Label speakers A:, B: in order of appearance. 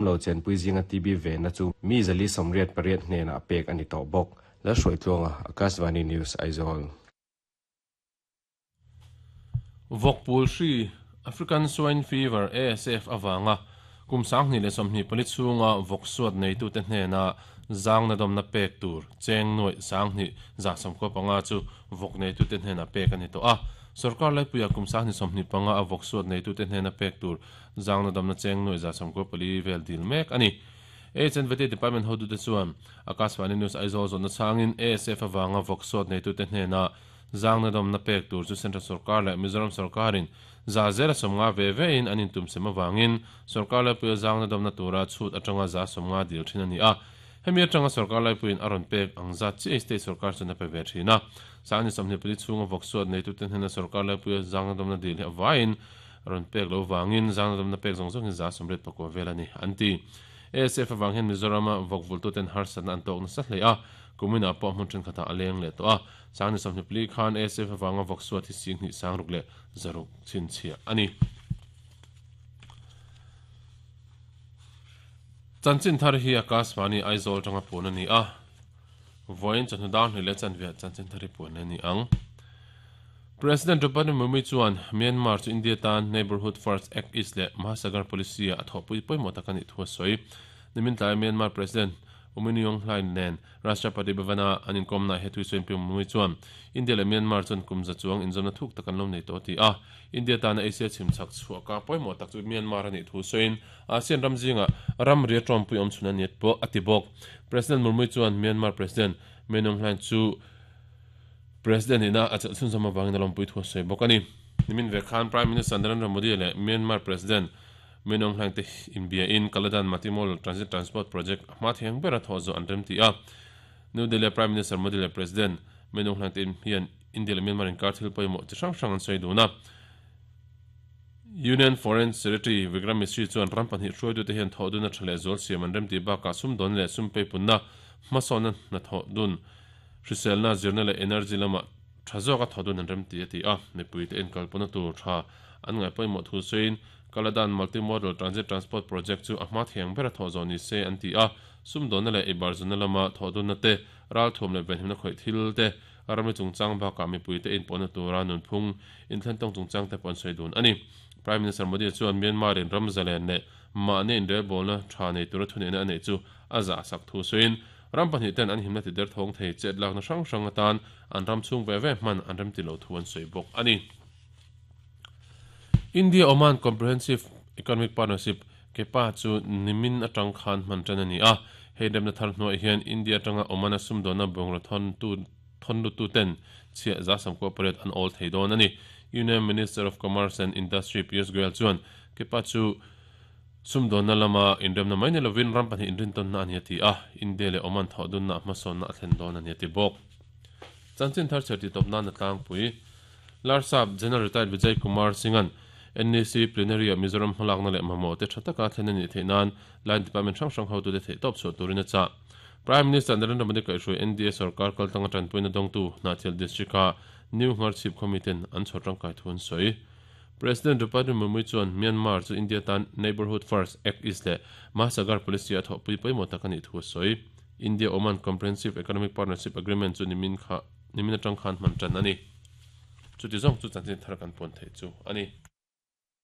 A: Lo chenpui zinga TB venna chu mi 488 hnenah pek a ni tawh bawk. Lalhruaitluanga, Akashvani News, Aizawl.
B: Vawkpul hri, African Swine Fever, ASF, avanga kum 2024 chhunga vawk suat neitute hnena zangna dawmna pek tur cheng nuaih 2195 chu vawk neitute hnena pek a ni tawh a. Sorkar laipuia kum 2025 a vawk suat neitute hnena pek tur Zangna damna cheng nuaih 94 vel dil mek a ni. HNVT Department hotute chuan Akashvani News Aizawl zawhna chhangin ASF avanga vawk sawt neitute hnena zangna damna pek tur chu Central Sorkar leh Mizoram Sorkarin za zela 50 ve vein an intumsem avangin Sorkar laipuia zangna damna tura chhut atanga 50% dil thin a ni a. Hemi atanga Sorkar laipuiin a rawn pek ang zat chiah State Sorkar chuan a pe ve thin a. 2024 chhunga vawk suat neitute hnena Sorkar laipuia zangna damna dil hi avaiin Rawn pek lo vangin zangna damna pek zawng zawng hi 89 vel a ni, an ti. ASF avang hian Mizorama vawk vultuten harsatna an tawk nasa hle a, kuminah pawh hmun thenkhatah a leng leh tawh a. 2024 khan ASF avanga vawk suat hi 2600 chhinchhiah a ni. Chanchin thar hi Akashvani Aizawl atanga puan a ni a, vawiin chawhnu dar hnih leh chanve chanchin thar hi puan a ni ang. President Draupadi Murmu chuan Myanmar chu India tan Neighbourhood First Act East leh Mahasagar Policy-a a thawhpui pawimawh tak a nih thu a sawi. Nimin tlaia Myanmar President U Min Aung Hlaing nen Rashtrapati Bhavan-a an inkawmnaah he thu sawiin Pi Murmu chuan India leh Myanmar chuan kum za chuang inzawmna thuk tak an lo nei tawh a ti a. India tana Asia chhimchhak chhuahka pawimawh tak chu Myanmar a nih thu sawiin ASEAN ram zingah ramri a tawmpui awm chhun a ni pawh a ti bawk. President Murmu chuan Myanmar President Min Aung Hlaing chu President nihna a chelh chhunzawm avangin a lawmpui thu a sawi bawk a ni. Nimin ve khan Prime Minister Narendra Modi leh Myanmar President Min Aung Hlaing te inbiain Kaladan Multimodal Transit Transport Project a hma thei ang bera thawh zawh an rem ti a. New Delhi-a Prime Minister Modi leh President Min Aung Hlaing te hian India leh Myanmar inkar thil pawimawh chi hrang hrang an sawi dun a. Union Foreign Secretary Vikram Misri chuan ram pahnih hruaitute hian thawh dun a tha leh zual siam an rem tih bakah sumdawn leh sum peipunna hmasawnna hnathawh dun Hriselna, zirna leh energy lamah tha zawka thaw dun an rem ti a ti a, mipuite inkalpawhna tur tha an ngaih pawimawh thu sawiin Kaladan Multimodal Transit Transport Project chu a hma thiang bera thawh zawh ni se an ti a, sumdawnna leh eibarzunna lama thawh dunna te, ralthuam leh venhimna khawih thil te, ramri chungchang bakah mipuite inpawhna tura nunphung inthlentawng chungchang te pawh an sawi dun a ni. Prime Minister Modi chuan Myanmar-in ram zalen leh mahni inrelbawlna tha nei tura thuneihna a neih chu a zahsak thu sawiin Ram pahnih ten an himna ti derthawng thei chet lakna hrang hrang atan an ram chhung ve ve hman an remti lo thu an sawi bawk a ni. India Oman Comprehensive Economic Partnership, KEPA, chu nimin atang khan hman tan a ni a. Hei remna thar hnuaiah hian India atanga Oman-a sumdawnna bungraw thawntu thawnluttu ten chhiah 98% an awl thei dawn a ni. Union Minister of Commerce and Industry Piyush Goyal chuan KEPA chu Sumdawnna lama inremna mai ni lovin ram pahnih inrintawnna a ni a ti a, India leh Oman thawh dunna a hmasawnna a thlen dawn a ni a ti bawk. Chanchin thar chher tih tawp nan a tlangpui. Larsap General Retired Vijay Kumar Singh-a'n NEC Plenary-ah Mizoram hmalakna leh mamawh te tha taka thlen a nih theih nan Line Department hrang hrang hotute theihtawp chhuah turin a chah. Prime Minister Narendra Modi kaihhruai NDA sorkar kaltanga tanpuina dawngtu Hnahthial District-a New Ngharchhip khawmiten an chhawr tangkai thu an sawi. President Draupadi Murmu chuan Myanmar chu India tan Neighbourhood First, Act East leh Mahasagar Policy a thawhpui pawimawh tak a nih thu a sawi. India-Oman Comprehensive Economic Partnership Agreement chu nimin kha nimin atang khan hman tan a ni. Chuti zawng chu chanchin thar kan puan theih chu a ni.